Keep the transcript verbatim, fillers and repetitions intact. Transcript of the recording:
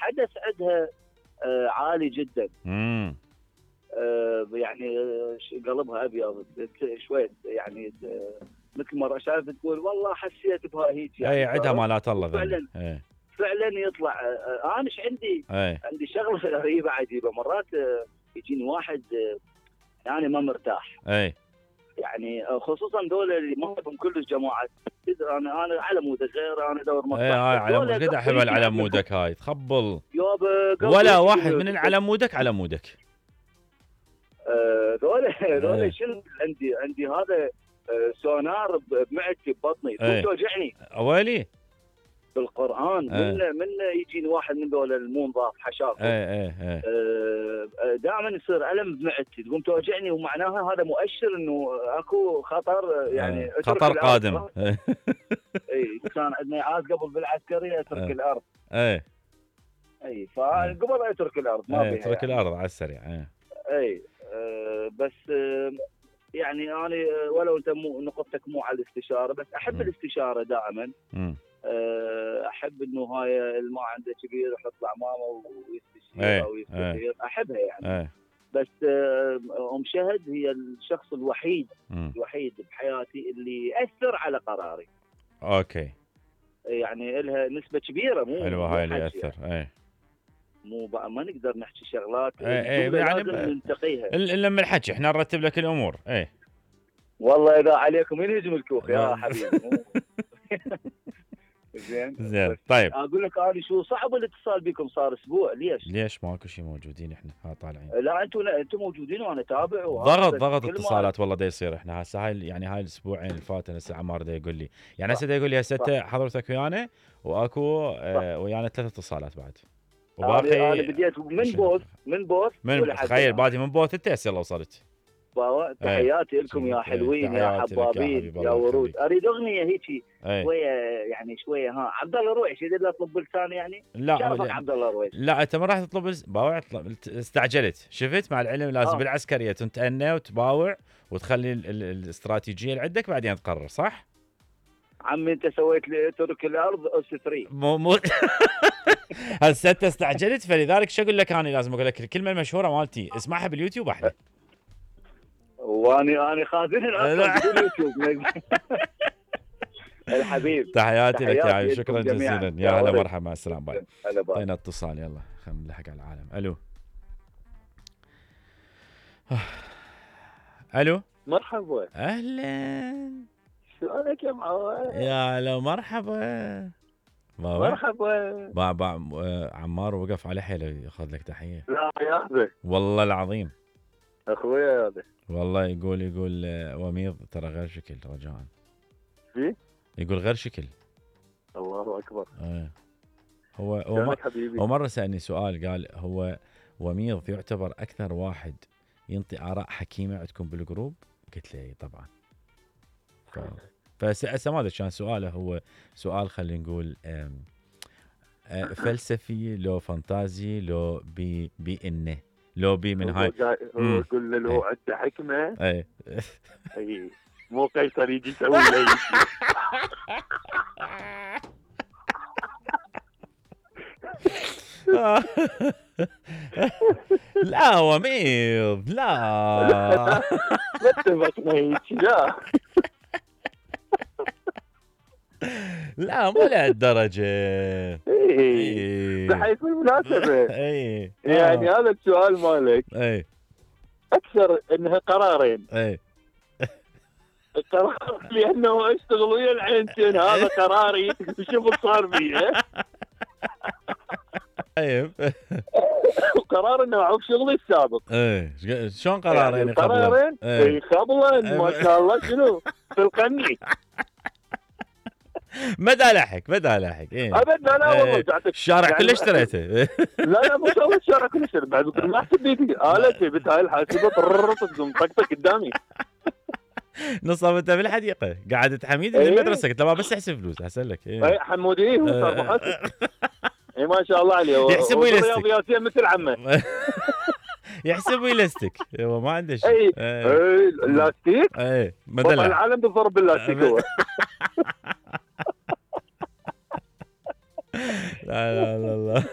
الحدث عندها آه عالي جدا. امم آه يعني قلبها ابيض شوي يعني، مثل ما شايف تقول والله حسيت بها هيك يعني. اي عندها مالات الله فعلا ايه. فعلا يطلع. آه انا ايش عندي؟ ايه. عندي شغله غريبه عجيبه، مرات آه يجيني واحد آه يعني ما مرتاح. اي يعني خصوصا دول اللي ما بهم كلش جماعه. انا انا على مودك غير، انا ادور مصلحه. اي هاي على مودك، قد احب على مودك هاي تخبل ولا واحد من على مودك على مودك. ذولا ذولا شنو عندي عندي هذا سونار بمعدتي ببطني توجعني اويلي بالقران. ايه. من من يجيني واحد من ذول المو نظاف حشاف ايه ايه ايه. دائما يصير الم بمعدتي تقوم توجعني، ومعناها هذا مؤشر انه اكو خطر يعني ايه. خطر قادم. اي كان عندنا عاد قبل بالعسكريه اترك ايه. الارض. اي اي فقبل اترك الارض ما ايه. فيها اترك يعني. الارض على السريع. اي اي أه بس أه يعني انا ولو انت مو نقطتك مو على الاستشاره، بس احب م. الاستشاره دائما. أه احب انه هاي اللي ما عنده كبير يحط له عمامه ويستشير ايه. او يستشير. ايه. احبها يعني. ايه. بس ام شهد هي الشخص الوحيد م. الوحيد بحياتي اللي ياثر على قراري. اوكي. يعني لها نسبه كبيره مو حلوه هاي اللي ياثر. يعني. ايه. مو بقى ما نقدر نحكي شغلات ايه ايه يعني ننتقيها الا من الحكي احنا نرتب لك الامور. ايه والله اذا عليكم ينهجم الكوخ يا حبيبي. زين زين طيب اقول لك انا شو صعب الاتصال بكم صار اسبوع. ليش؟ ليش ماكو شيء موجودين احنا ها طالعين؟ لا انتم انتم موجودين وانا تابع. ضغط ضغط اتصالات والله دا يصير. احنا هسه هاي يعني هاي الاسبوعين اللي فاتوا هسه عمار دا يقول لي يعني هسه دا يقول لي هسه حضرتك ويانا واكو آه ويانا ثلاث اتصالات بعد. وباقي انا بديت من بوث من بوث من تخيل بادي من بوث انت هسه وصلت. تحياتي لكم يا حلوين يا حبابين يا ورود. اريد اغنيه هيك شويه يعني شويه ها عبد الله رويش يريد له اطلب بلسان يعني. لا شرفك عبد الله رويش. لا انت ما راح تطلب باوع استعجلت. شفت مع العلم لازم آه. بالعسكريه تنتأنى وتباوع وتخلي الاستراتيجيه اللي عندك بعدين تقرر صح؟ عمي انت سويت لي اترك الارض اس ثلاثة مو مو هسه انت استعجلت فلذلك شو اقول لك انا لازم اقول لك الكلمه المشهوره مالتي اسمعها باليوتيوب احلى. واني اني خازنها اصلا باليوتيوب. الحبيب تحياتي لك يا حبيبي شكرا جزيلا يا هلا مرحبا مع السلامه باي. طينا اتصال يلا خلينا نلحق على العالم. الو الو مرحبا اهلا شلونك يا معود؟ يا هلا مرحبا مرحبا با با عمار وقف على حيله ياخذ لك تحيه. لا يا اخي والله العظيم اخويا هذا والله يقول يقول وميض ترى غير شكل رجاء. في يقول غير شكل. الله اكبر. ايه هو هو, هو مره سالني سؤال قال هو وميض يعتبر اكثر واحد ينطي اراء حكيمه عندكم بالجروب؟ قلت له اي طبعا. ف... فهسه ما ادري كان سؤاله هو سؤال خلينا نقول فلسفي لو فانتازي لو بي بي انه لو بي من هاي هو يقول له لو عنده حكمه. اي اي مو قيصر يجي يسوي له لا وميض لا ما اتفقنا هيك لا لا مو لهالدرجه. اي بحيث بالمناسبه اي يعني هذا السؤال مالك اي اكثر انها قرارين. اي القرار لانه اشتغل ويا العينتين هذا قراري وشغل صار بيه. طيب وقرار انه اعوف شغلي السابق. ايه شلون قرارين يعني قرارين اي خبلا ما شاء الله شنو في القني. مدى لحق مدى لحق ايه ابد لا لا والله الشارع كله اشتريته. لا لا مو شغل الشارع كله اشتريته بعد ما احسب بيدي التي بت هاي الحاسبه تقوم طقطق قدامي. نصاب انت بالحديقه قاعد حميد اللي المدرسه قلت له بس احسب فلوس احسن لك. اي حمودي هو صار محاسب. اي ما شاء الله عليه يحسب ويلستك رياضياتيه مثل عمه. يحسب ويلستك هو ما عنده شيء. اي اي اللاستيك اي بطل العالم بالضرب باللاستيك هو. لا لا لا